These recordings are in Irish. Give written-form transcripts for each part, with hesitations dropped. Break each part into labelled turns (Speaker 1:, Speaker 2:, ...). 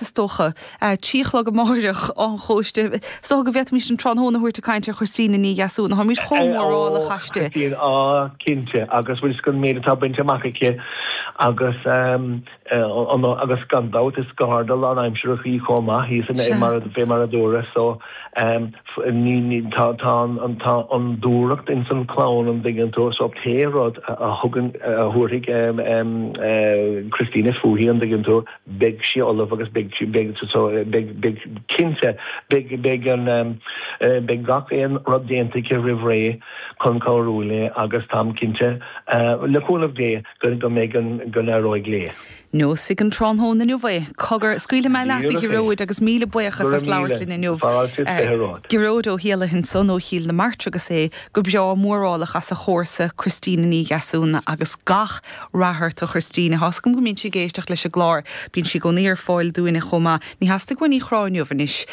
Speaker 1: Is dócha. 3 a chlog amáireach, Áth an Chóiste. Is dócha go bhféadfaimis an tráthnóna a thabhairt ag caint ar Christina Ní Dheasúna. Táimid chomh mórálach aisti.
Speaker 2: Christine, á, cinnte, agus bhfuil 'fhios agat an méid atá bainte amach aici agus agus gan dabht is garda lánaimsearach í chomh maith, í san mar fé mar a dúradh so ní ní tá tá an tá an dúthracht ins an chlann an dtuigeann tú so pé rud a thugann a thabharfaidh Christina fúithi an dtuigeann tú beidh sí ullamh agus beidh, beidh, so, beidh, beidh, cinnte, beidh, beidh an, beidh gach aon rud déanta aici roimh ré chun cabhrú léi agus táim cinnte, le cúnamh Dé, go, go mbeidh an, go n-éireoidh léi.
Speaker 1: Neosfaidh an tráthnóna inniu é. Cogar, scaoilfidh mé leat, a Ghearóid, agus míle buíochas as labhairt linn inniu. Gearóid Ó hÉallaithe ansan ó Chill na Martra agus é go breá mórálach as a chomharsa Christina Ní Dheasúna agus gach Rath ort a Christina. Tá's agam go mbíonn sí ag éisteacht leis an gclár. Bíonn sí i gcónaí ar fáil dúinne chomh maith. Ní theastaigh uainn í a chrá inniu anois.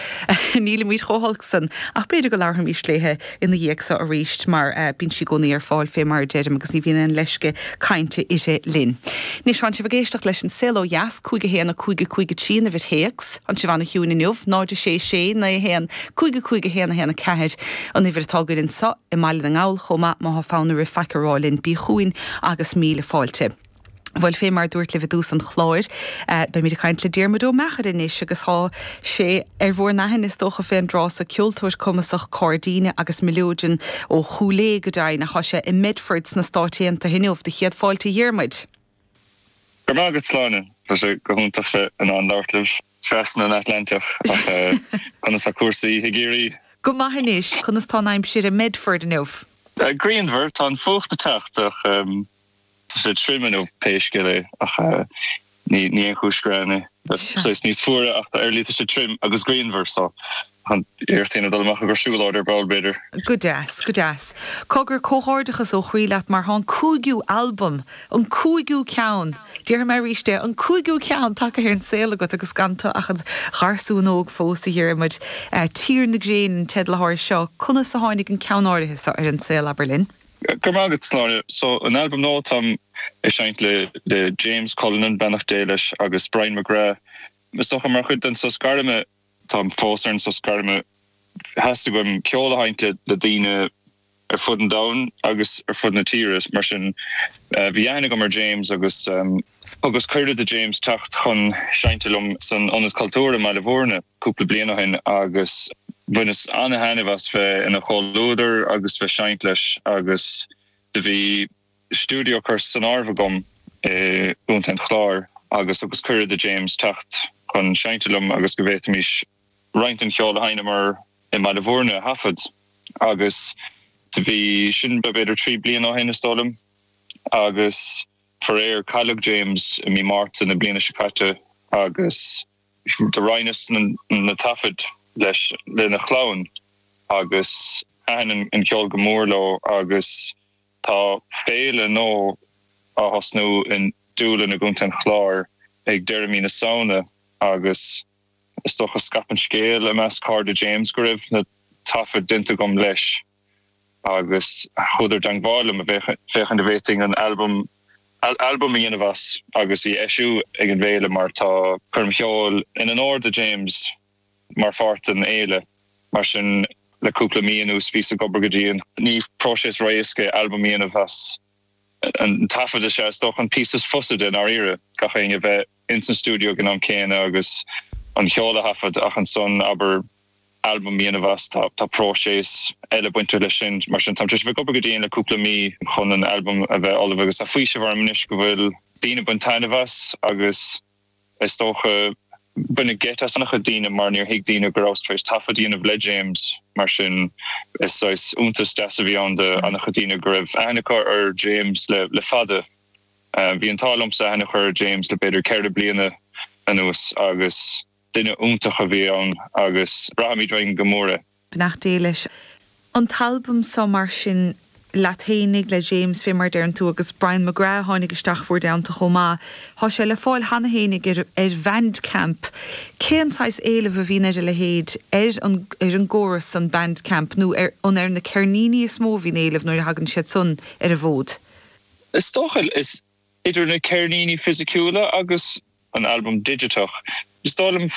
Speaker 1: Nílimid chomh holc san. Ach b'fhéidir go labharfaimís léithe ina dhiaidh so arís mar bíonn sí i gcónaí ar fáil fé mar a deirim agus ní bhíonn aon leisce cainte uirthi linn. Anois tánn sibh ag éisteacht leis An Saol Ó Dheas, 5 1 5 5 3 an uimhir théacs. Tánn sibh ana-chiúin inniu, 0 6 6 9 1 5 5 1 1 4 an uimhir atá againn anso i mBaile na nGall chomh maith má thá fonn oraibh faic a rá linn bí chugainn agus míle fáilte. Bhuel, fé mar a dúrt libh i dtús an chláir, beimid ag caint le Diarmuid Ó Meachair anois agus thá sé ar bhur n-aithne is dócha fén dtráth so, ceoltóir cumasach cairdíne agus mileoidean ó Chúil Aodha go deimhin ach thá sé i mBedford sna Stáit Aontaithe inniu. Do chéad fáilte a Dhiarmuid.
Speaker 3: Go raibh maith agat Sláine. Tá sé go hiontach bheith in ann labhairt libh trasna an Atlantach ach conas tá cúrsaí i gCiarraí?
Speaker 1: Go maith anois, conas tá an aimsir i mBedford inniu?
Speaker 3: Grianmhar, tá an fuacht ag teacht ach tá sé tirim inniu pé scéal é ach ní aon chúis ghreann é. Saghas níos fuaire ach ar ndóigh tá sé tirim agus grianmhar so iarracht a dhéanamh dul amach ag siúlóid ar ball b'fhéidir.
Speaker 1: Go deas, go deas. Cogar, comhghairdeachas ó chroí leat mar thá an cúigiú albam, an cúigiú ceann, déarfaidh mé arís é, an cúigiú ceann tagtha ar an saol agat agus gan tu ach id gharsún óg fós, a Dhiarmuid. Tír na Gréine an teideal athá air seo. Conas a tháinig an ceann áirithe seo ar an saol, abair linn?
Speaker 3: Go raibh maith agat, Sláine. So, an albam nua, táim ag seinnt le le James Cullinan, beannacht Dé leis, agus Brian McGrath. Is dócha mar chuid den sos gairme, táim fós ar an sos gairme, theastaigh uaim ceol a sheinnt le le daoine ar fud an domhain agus ar fud na tíre. Mar sin, bhí aithne agam ar James agus thugas cuireadh do James teacht chun seinnte liom san Ionad Cultúir i mBaile Bhúirne cúpla bliain ó shin agus bhaineas ana-thaitneamh as bheith ina chomhluadar agus bheith seinnt leis agus do bhí stiúideo curtha san áireamh agam i gContae an Chláir agus thugas cuireadh do James teacht chun seinnte liom agus go bhféadfaimis roinnt den cheol a sheinneamar i mBaile Bhúirne a thaifead agus do bhí sin b'fhéidir 3 bliana ó shin is dóigh liom agus faraor cailleadh James i mí Márta na bliana seo caite agus do roinneas na taifid leis lena chlann agus thaitin an ceol go mór leo agus tá féile nua á thosnú i nDúlainn i gContae an Chláir ag deireadh mí na Samhna agus is dócha scaip an scéal i measc cairde James go raibh na taifid déanta agam leis agus chuadar i dteangmháil liom féachaint an bhféadfainn an albam albam a dhéanamh as agus í a eisiú ag an bhféile mar tá coirm cheoil in onóir do James mar pháirt den fhéile. Mar sin le cúpla mí anuas bhíos ag obair go dian. Ní próiseas ró-éasca é albam a dhéanamh as an taifead is ea is dócha an píosa is fusa de i ndáiríre, gach éinne a bheith ins an stiúideo ag an am céanna agus an cheol a thaifead ach ansan abair albam a dhéanamh as tá tá próiseas eile bainteach leis sin. Mar sin táim tar éis a bheith ag obair go dian le cúpla mí chun an albam a bheith ullamh agus tá faoiseamh orm anois go bhfuil daoine ag baint taitneamh as agus Is dócha, baineadh geit as an-chuid daoine mar níor thuig daoine go rabhas tar éis taifead a dhéanamh le James, mar sin is saghas iontas deas a bhí ann do an-chuid daoine go raibh aithne acu ar James le fada. Bhí an t-ádh liomsa aithne a chur ar James le b'fhéidir 4 bliana anuas agus duine iontach a bhí ann agus braithimid uainn go mór é.
Speaker 1: Beannacht Dé leis. An t-albam seo mar sin, leat fhéinig, le James, fé mar a deireann tú, agus Brian McGrath a tháinig isteach bhur dteannta chomh maith. Thá sé le fáil cheana fhéinig ar ar Bhandcamp. Cén saghas éileamh a bhíonn ar a leithéid, ar an ar an gcóras san, Bandcamp, nó ar an ar na ceirníní is mó a bhíonn éileamh nuair a thagann siad san ar an bhfód?
Speaker 3: Is dócha, is idir na ceirníní fisiciúla agus an albam digiteach. Is dóigh liom.